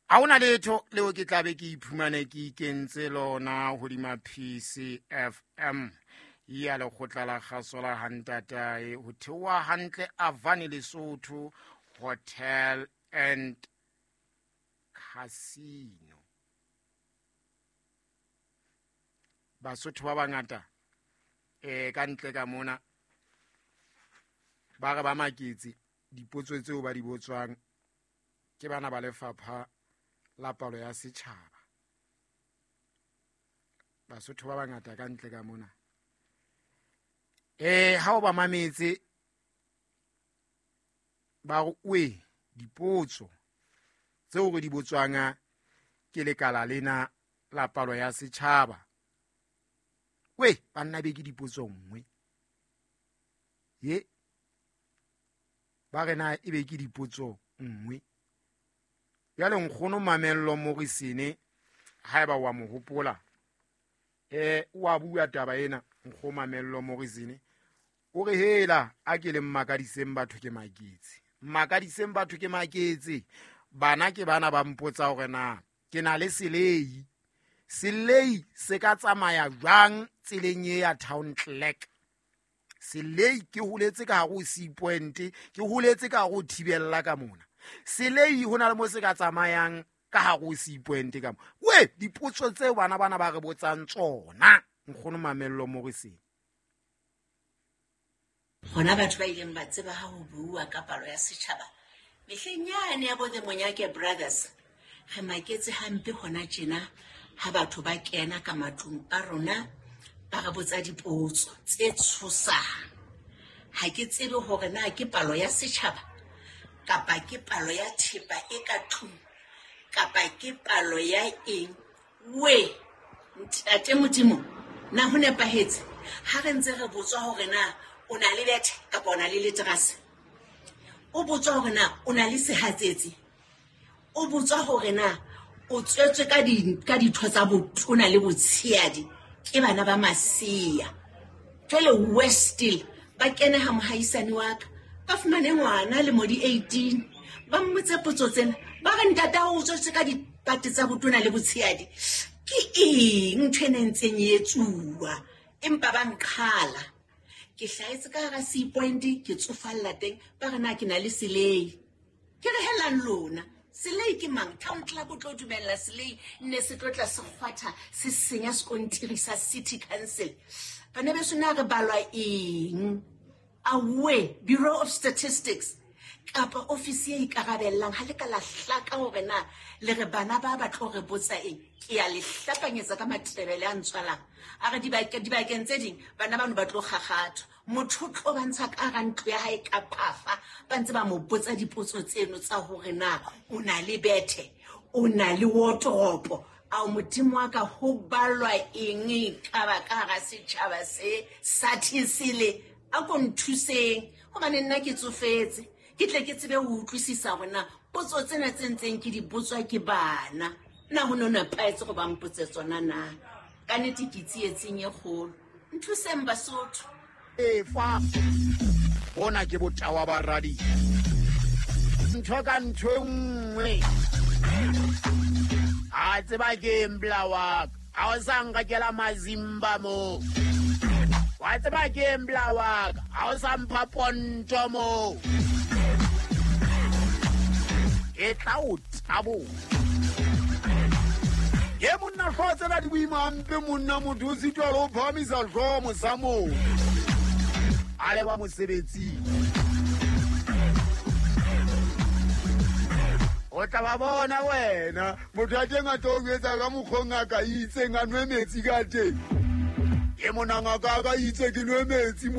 Ha hona letho leo ke tlabe ke iphumane ke ikentse lona hodima PCFM ya lekgotla la kgaso la hantatae ho theoha hantle Avani Lesotho Hotel and Casino. Basotho ba bangata ka ntle ka mona ba re ba maketse dipotso tseo ba di botswang ke bana ba lefapha la palo ya setjhaba. Basotho ba bangata ka ntle ka mona ha o ba mametse ba re oe dipotso tseo re di botswang ke lekala lena la palo ya setjhaba. We banna be ke dipotso nngwe ye ba re na e be ke dipotso nngwe. Jwale nkgono Mamello Morisene haeba wa mo hopola wa bua taba ena. Nkgono Mamello Morisene o re hela a ke le mmakadiseng batho ke maketse, mmakadiseng batho ke maketse. Bana ke bana ba mpotsa hore na ke na le selei, selei se ka tsamaya jwang tseleng e ya town clerk. Selei ke holetse ka hare ho C point, ke holetse ka hare ho thibella ka mona. Selei ho na le mo se ka tsamayang ka hare ho C point ka mo. We dipotso tseo bana bana ba re botsang tsona nkgono Mamello Morisene. Hona batho ba ileng ba tseba ha ho bua ka palo ya setjhaba mehleng yane ya bo the Monyake Brothers, re maketse hampe hona tjena ha batho ba kena ka matlung a rona ba re botsa dipotso tse tshosang. Ha ke tsebe hore na ke palo ya setjhaba kapa ke palo ya thepa e ka tlung kapa ke palo ya eng. We ntate Modimo, na ho nepahetse ha re ntse re botswa hore na o na le bethe kapa o na le leterase? O botswa hore na o na le sehatsetsi? O botswa hore na o tswetswe ka ditho tsa botona le botshehadi? Ke bana ba masea. Jwale Westil ba kene ha mohaisane wa ka, ba fumane ngwana le modi 18, ba mmotse potso tsena, ba re ntate o tswetswe ka dipate tsa botona le botshehadi. Ke eng ntho e ntseng e etsuwa? Empa ba nqhala. Ke hlahetse ka hara C point, ke tsofalla teng, ba re na ke na le selei. Ke re helang lona, selei ke mang? Town Club o tlo dumella selei nne se tlo tla se kgwatha se senya sekontiri sa City Council. Bana beso na re balwa eng? Awe, Bureau of Statistics kapa ofisi e ikarabellang ha le ka la hlaka hore na le re bana ba ba tlo re botsa eng. Ke ya le hlapanyetsa ka matebele a ntswalang. A re dibakeng tse ding bana bano ba tlo kgakgathwa. Motho o tlo ba ntsha ka hara ntlo ya hae ka phafa, ba ntse ba mo botsa dipotso tseno tsa hore na o na le bethe, o na le wardrobe. Ao Modimo wa ka, ho balwa eng ka ba ka hara setjhaba se sa thesele? A ko nthuseng hobane nna ke tsofetse, ke tle ke tsebe ho utlwisisa hore na potso tsena tse ntseng ke di botswa ke bana na ho no nepahetse go ba mpotse tsona na. Ka nnete ke tsietsing e kgolo. Nthuseng Basotho. Efa bona ke botawa ba radio. Ntho ka ntho e nngwe. A tseba ke embla wa ka. Ha o sa nkakela mazimba mo. Wa tseba ke embla wa ka. Ha o sa mpha ponto mo. Ke tla o tabola. Ke monna hlooho tsena di boima hampe monna, motho o sitwa le ho phahamisa hlooho mosamong. A leba mosebetsing. O tla ba bona wena, motho a teng a tlo o jwetsa ka mokgwa o ngaka e itseng a nwe metsi ka teng. Ke mona ngaka a ka itse ke nwe metsi monna.